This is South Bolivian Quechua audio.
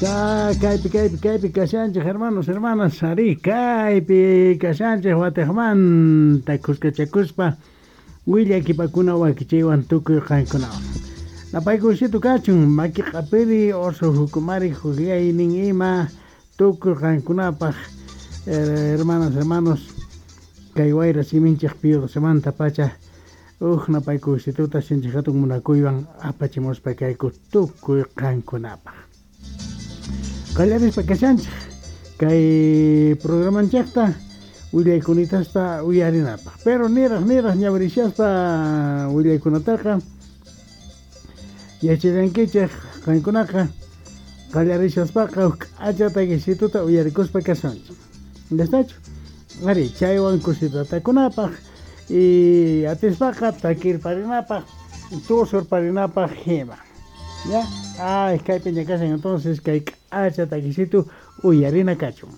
Kaypi, kaypi, kaypi kashanchej, hermanos, hermanas, arí, kaypi kashanchej watejmanta khuskachakuspa willakipakuna wakichiywan tukuy qankunawan. Napaykusitu kachun, maki q'apiri, oso jukumari, juklaynin ima, tukuy qankunapaj, hermanas, hermanos, kay wayra siminchej Pío pacha, uj napaykusituta sinchi hatun munakuywan apachimuspa kayku tukuy qankunapaj. Qallarispa kashanchej kay programanchejta willaykunitasta uyarinapaj. Pero niraj niraj ñawirishaspa willaykunataqa yachallankichej qankunaqa qallarishaspaqa uj k'acha takisituta uyarikuspa kashanchej. ¿Estachu? Ari, chaywan kusitatakunapaj y atispaqa takirparinapaj, tusurparinapaj hima. ¿Ya? Ay, kaypi ña kashan entonces kay k'acha takisitu uyarina kachun.